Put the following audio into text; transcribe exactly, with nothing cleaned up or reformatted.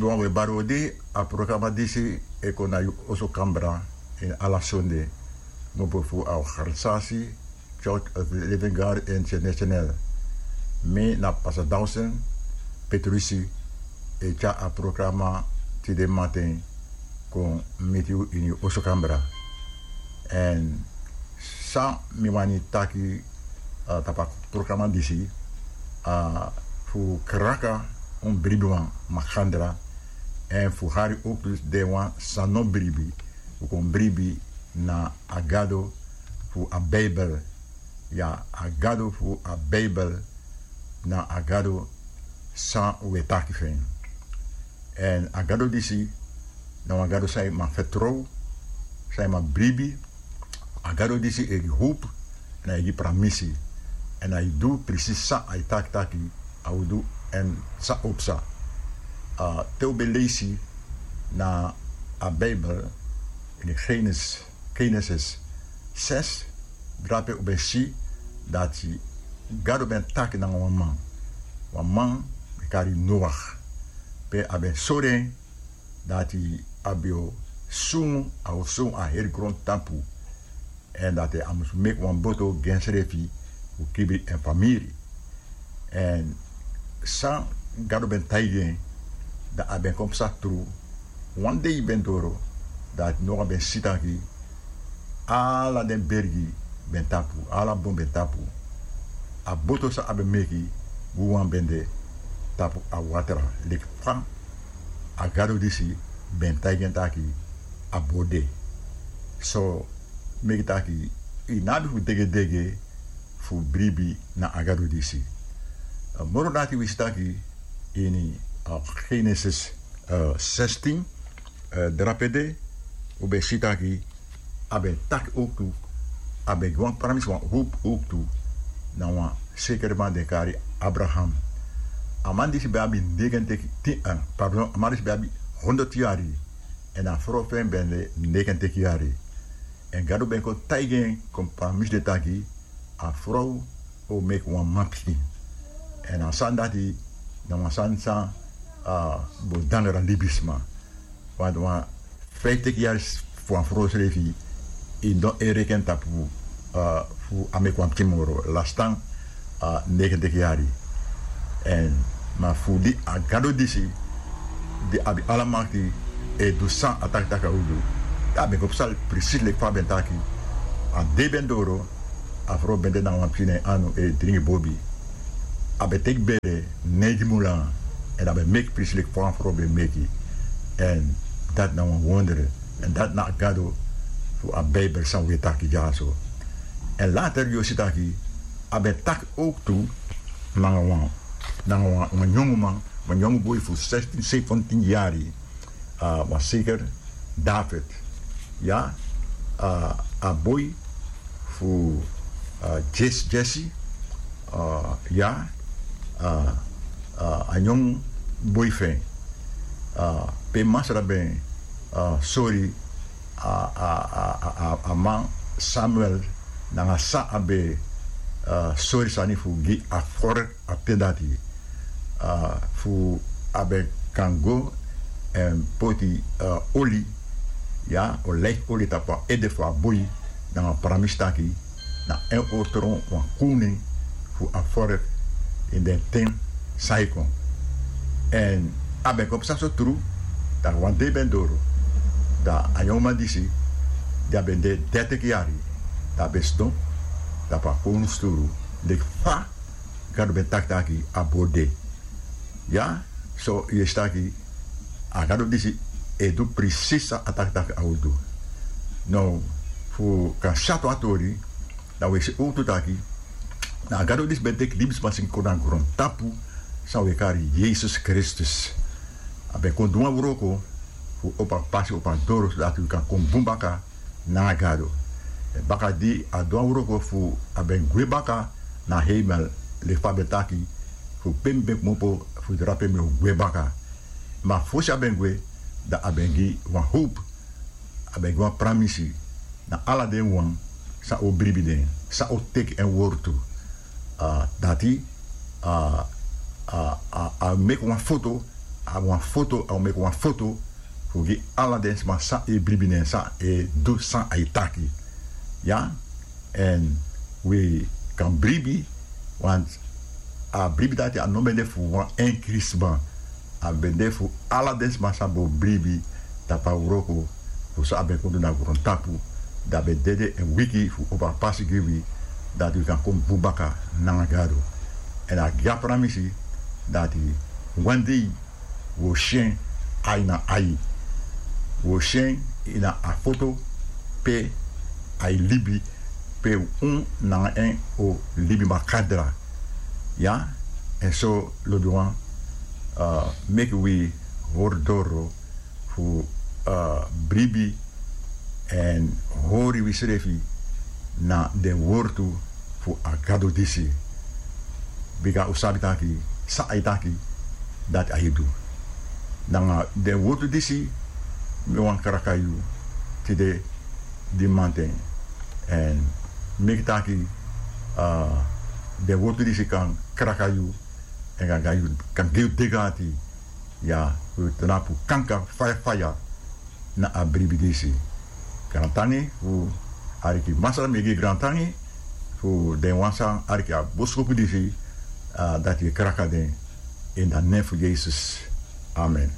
Wan we bari odi, a programa disi e kon na yu oso kambra ini ala sonde, kmopo fu a organisasi Church of the Living God International. Mi na Pastor Dawson Petrusi, e tyari a programa tide matin kon miti yu ini yu oso kambra. Èn san mi wani taki, uh, tapu a programa disi, uh, fu kraka un bribiwan makandra, èn fu hari owktu den wan san no bribi, fu kon bribi na a Gado fu a Bijbel. Ya, a Gado fu a Bijbel na a Gado san we taki fu en. Èn a Gado disi na wan Gado san yu man fertrow, san yu man bribi. A Gado disi e gi howpu, èn a e gi pramisi, èn a e du presisi san a e taki taki a o du, èn san o psa. Uh, te un ben leisi na a Bijbel ini Genesis, Genesis zes, drape un ben si dati Gado ben taki nanga wan man. Wan man ben kari Noach. Pe a ben sori en dati a ben o sungu, a o sungu a heri grontapu. Èn dati a musu meki wan boto gi ensrefi fu kibri en famiri. Èn san Gado ben taigi en, dan a ben kon psa tru. Wan dei ben doro, dati Noach ben si taki ala den bergi ben tapu, ala bon ben tapu. A boto san a ben meki, wawan ben de tapu a watra, leki fa a Gado disi ben taigi en taki a bo de. So, meki taki yu no abi fu degedege fu bribi na a Gado disi. Uh, moro dati wi si taki ini, uh, Genesis, uh, zestien, uh, drape de, un ben si taki a ben taki owktu, a ben gi wan pramisi, wan howpu owktu na wan sekere man den kari Abraham. A man disi ben abi negentig, ti-, uh, pardon, a man disi ben abi honderd yari, èn a frow fu en ben de negentig yari. Èn Gado ben kon taigi en, kon pramisi den taki a frow o meki wan manpikin. Èn a sani dati na wan sani san, uh, bo dangra libisma. Want wan vijftig yari fu wan frow srefi, yu no e reken tapu, uh, fu a meki wan pikin moro, lasi tan, uh, negentig yari. Èn ma fu di a Gado disi, di abi ala makti, e du san a taki taki a o du, a ben kon psa presisi leki fa a ben taki. A dei ben doro, a frow ben de nanga wan pikin na en anu e dringi bobi. A ben teki bere, neigi mun langa, èn a ben meki presisi leki fa a frow ben meki. Èn dati na wan wonder. Èn dati na a Gado fu a Bijbel san wi e taki dyaso. Èn later yu o si taki a ben taki owktu nanga wan, nanga wan, wan yongu man, wan yongu boi fu zestien, zeventien yari, uh, wan zeker David. Ya, uh, a boi fu, uh, Jes-, Jesse, uh, ya, uh, uh, a yongu boi fu en. Uh, pe Masra ben, uh, sori a, a, a, a, a man Samuel nanga san a ben, uh, sori sani fu gi a vork a ten dati, uh, fu a ben kan go èn poti, uh, oli, ya, olijfoli tapu a ede fu a boi, nanga pramisi taki na en o tron wan kownu fu a vork ini den ten san e kon. Èn a ben kon psa so tru, dan wan dei ben doro, dan a yongu man disi, di a ben de dertig yari, dan a ben sidon tapu a kownu sturu, leki fa Gado ben taki taki a bo de. Ya, so yu e si taki a Gado disi e du presisi san a taki taki a o du. Now, fu kan syatu a tori, dan wi e si owktu taki na a Gado disi ben teki libisma seni kon na grontapu, san wi e kari Yesus Kristus. A ben kon du wan wroko fu opo a pasi, opo a doro, sodati wi kan kon bun baka nanga Gado. Èn baka di a du a wroko fu a ben gwe baka na heimel, leki fa a ben taki, fu pe mi ben kmopo, fu drape mi o gwe baka. Ma fosi a ben gwe, dan a ben gi wan howpu, a ben gi wan pramisi na ala den wan san o bribi den, san o teki en wortu. Uh, dati, uh, uh, uh, a meki wan foto a wan foto a o meki wan foto fu gi ala den sma san e bribi nen san e du san a e taki. Ya. Èn wi kan bribi. Want a bribi dati a no ben de fu wan enkri sma. A ben de fu ala den sma san bo bribi tapu a wroko fu san a ben kon du na grontapu. Dan a ben dede èn wiki fu opo a pasi gi wi dati wi kan kon bun baka nanga gado. Èn a gi a pramisi dati wan dei wi o si en ai na ai. Wi o si en ini a foto pe a e libi, pe un nanga en o libi makandra. Ya. Èn so lobiwan, meki wi hori doro fu bribi èn hori wisrefi na den wortu fu a gado disi. Bika un sabi taki san a e taki dati a e du. Nanga den wortu disi mi wani kraka yu tide di manten. Èn meki taki den wortu disi kan kraka yu èn kan gi yu degati. Ya, wi o tnapu kanka faya faya na a bribi disi. Grantangi fu ariki masra mi e gi grantangi fu den wan san ariki a boskopu disi. Dati e kraka den ini a nen fu yesus. Amen.